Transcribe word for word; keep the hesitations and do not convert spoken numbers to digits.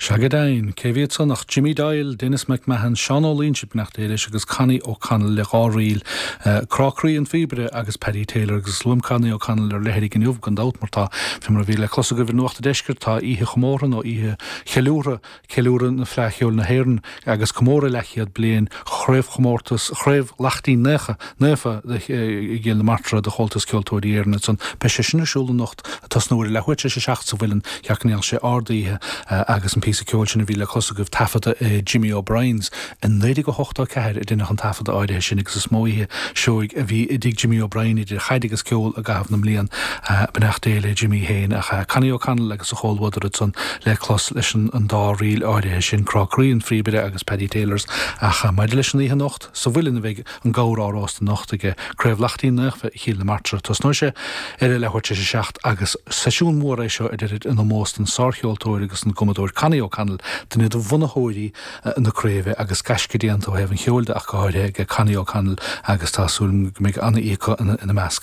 Sea go deimhin, cé bhí ansan ach Jimmy Doyle, Denis McMahon, Seán Ó Loingsigh beannacht Dé leis agus Connie O'Connell le dhá ríl, Crá Croí an Phíobaire agus Paddy Taylor agus luaim Connie O'Connell ar leithrigh inniu gan dabht mar tá fé mar a bhí le clos agaibh i Nuacht an Deiscirt tá oíche chomórtha nó oíche cheiliúrtha ceiliúradh na Fleadh Cheoil na hÉireann agus comóradh leathchéad bliain chraobhchomórtas Chraobh Laichtín Naofa Naofa i gCill na Martra de Chomhaltas Ceoltóirí Éireann ansan. Beidh sé sin ar siúl anocht ag tosnú ar a leathuair tar éis a seacht sa Mhuileann cheart go ndéanfadh sé ard-oíche agus an píosa ceoil sin a bhí le clos agaibh taifeadta i Jimmy O'Brien's i naoi déag ochtó a ceathair a deineadh an taifeadadh áirithe sin agus is mó oíche seoigh a bhí i dtigh Jimmy O'Brien idir chaid agus ceol i gcaitheamh na mblian. Beannacht Dé le Jimmy féin ach Connie O'Connell agus a chomhluadar ansan le clos leis an dá ríl áirithe sin, Crá Croí an Phíobaire agus Paddy Taylor's. Ach maidir leis an oíche anocht sa Mhuileann a bheidh an gabhar á róstadh anocht ag Craobh Laichtín Naofa Chill na Martra. Tosnóidh sé ar a leathuair tar éis a seacht agus seisiún mór é seo a deirid in ómós don sárcheoltóir agus an gcumadóir Connie O'Connell, duine de bhunaitheoirí na craoibhe agus gaisce déanta ó thaobh an cheoil de ach go háirithe ag Connie O'Connell agus tá súil go mbeidh an-oíche acu ina measc.